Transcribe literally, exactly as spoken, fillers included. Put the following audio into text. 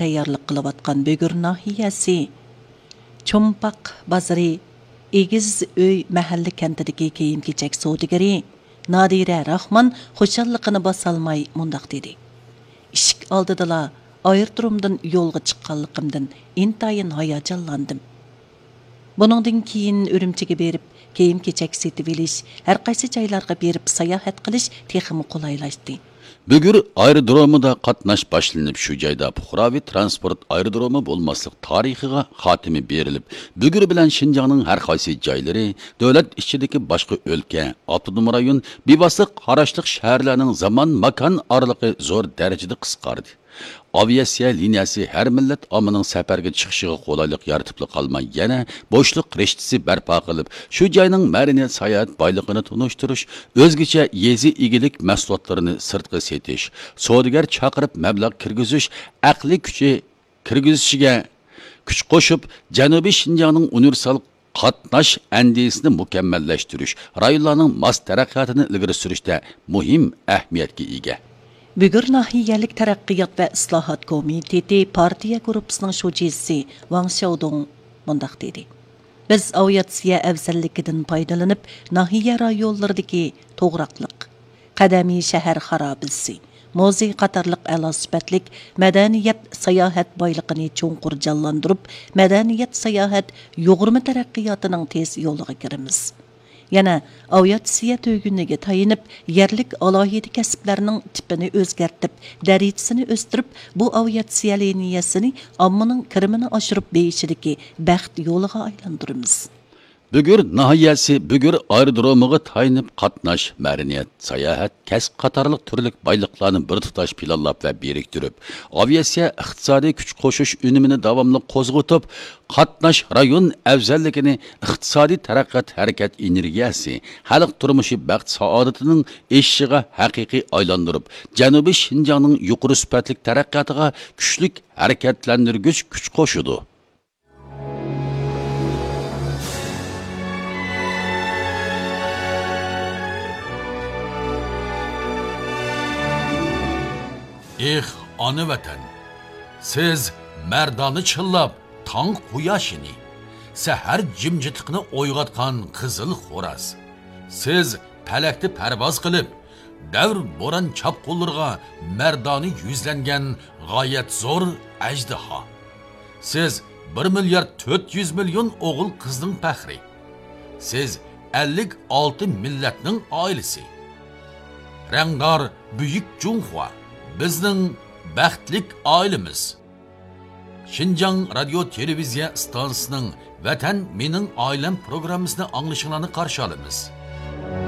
تەييارلىق قىلىۋاتقان بۈگۈر ناھىيەسى چومپاق بازىرى ئېگىز ئۆي مەھەللە كەنتىدىكى كىيىم-كېچەك سودىگىرى نادىرە راخمان خۇشاللىقىنى باسالماي مۇنداق دېدى: «ئىشىك ئالدىدىلا ئايرودرومدىن يولغا چىققانلىقىمدىن ئىنتايىن ھاياجانلاندىم. بۇنىڭدىن كېيىن ئۈرۈمچىگە بېرىپ، كىيىم-كېچەك سېتىۋېلىش، ھەر قايسى جايلارغا بېرىپ ساياھەت قىلىش تېخىمۇ قولايلاشتى.» بۈگۈر ئايرودرومىدا قاتناش باشلىنىپ، شۇ جايدا پۇقراۋى تىرانسپورت ئايرودرومى بولماسلىق تارىخىغا خاتىمە بېرىلىپ، بۈگۈر بىلەن شىنجاڭنىڭ ھەر قايسى جايلىرى، دۆلەت ئىچىدىكى باشقا ئۆلكە، ئاپتونوم رايون بىۋاسىتە قاراشلىق شەھەرلەرنىڭ زامان ماكان ئارىلىقى زور دەرىجىدە قىسقاردى. ئاۋىئاتسىيە لىنىيەسى ھەر مىللەت ئاممىنىڭ سەپەرگە چىقىشىغا قولايلىق يارىتىپلا قالماي، يەنە بوشلۇق رىشتىسى بەرپا قىلىپ، شۇ جاينىڭ مەدەنىيەت ساياھەت بايلىقىنى تونۇشتۇرۇش، ئۆزگىچە يېزا ئىگىلىك مەھسۇلاتلىرىنى سىرتقا سېتىش، سودىگەر چاقىرىپ مەبلەغ كىرگۈزۈش، ئەقلىي كۈچى كىرگۈزۈشىگە كۈچ قوشۇپ، جەنۇبىي شىنجاڭنىڭ ئۇنىۋېرسال قاتناش ئەندىزىسىنى مۇكەممەللەشتۈرۈش، رايونلارنىڭ ماس تەرەققىياتىنى ئىلگىرى سۈرۈشتە مۇھىم ئەھمىيەتكە ئىگە. بۈگۈر ناھىيەلىك تەرەققىيات ۋە ئىسلاھات كومىتېتى پارتىيە گۇرۇپپىسىنىڭ شۇجىسى ۋاڭ شياۋدۇڭ مۇنداق دېدى: «بىز ئاۋىئاتسىيە ئەۋزەللىكىدىن پايدىلىنىپ، ناھىيە رايونلىرىدىكى توغراقلىق، قەدىمىي شەھەر خارابىسى، مۇزېي قاتارلىق ئەلا سۈپەتلىك مەدەنىيەت ساياھەت بايلىقىنى چوڭقۇر جانلاندۇرۇپ، مەدەنىيەت ساياھەت يۇغۇرما تەرەققىياتىنىڭ تېز يولىغا كىرىمىز. يەنە ئاۋىئاتسىيە تۈگۈنىگە تايىنىپ، يەرلىك ئالاھىدە كەسىپلەرنىڭ تىپىنى ئۆزگەرتىپ، دەرىجىسىنى ئۆستۈرۈپ، بۇ ئاۋىئاتسىيە لىنىيەسىنى ئاممىنىڭ كىرىمىنى ئاشۇرۇپ بېيىشىدىكى بەخت يولىغا ئايلاندۇرىمىز.» بۈگۈر ناھىيەسى بۈگۈر ئايرودرومىغا تايىنىپ قاتناش، مەدەنىيەت، ساياھەت، كەسىپ قاتارلىق تۈرلۈك بايلىقلارنى بىر تۇتاش پىلانلاپ ۋە بىرىكتۈرۈپ، ئاۋىئاتسىيە ئىقتىسادىي كۈچ قوشۇش ئۈنۈمىنى داۋاملىق قوزغىتىپ، قاتناش رايون ئەۋزەللىكىنى ئىقتىسادىي تەرەققىيات ھەرىكەت ئېنېرگىيەسى، خەلق تۇرمۇشى بەخت سائادىتىنىڭ ئېشىشىغا ھەقىقىي ئايلاندۇرۇپ، جەنۇبىي شىنجاڭنىڭ يۇقىرى سۈپەتلىك تەرەققىياتىغا كۈچلۈك ھەرىكەتلەندۈرگۈچ كۈچ قوشىدۇ. ئېھ، ئانا ۋەتەن! سىز مەردانە چىللاپ، تاڭ قۇياشىنى، سەھەر جىمجىتلىقىنى ئويغاتقان قىزىل خوراز. سىز پەلەكتە پەرۋاز قىلىپ، دەۋر بوران چاپقۇنلىرىغا مەردانە يۈزلەنگەن غايەت زور ئەجدىھا. سىز بىر مىليارد تۆت يۈز مىليون ئوغۇل قىزنىڭ پەخرى. سىز ئەللىك ئالتە مىللەتنىڭ ئائىلىسى. رەڭدار بۈيۈك جۇڭخۇا، بىزنىڭ بەختلىك ئائىلىمىز. شىنجاڭ رادىيو تېلېۋىزىيە ئىستانسىسىنىڭ ۋەتەن مېنىڭ ئائىلەم پروگراممىسىنى ئاڭلىشىڭلارنى قارشى ئالىمىز.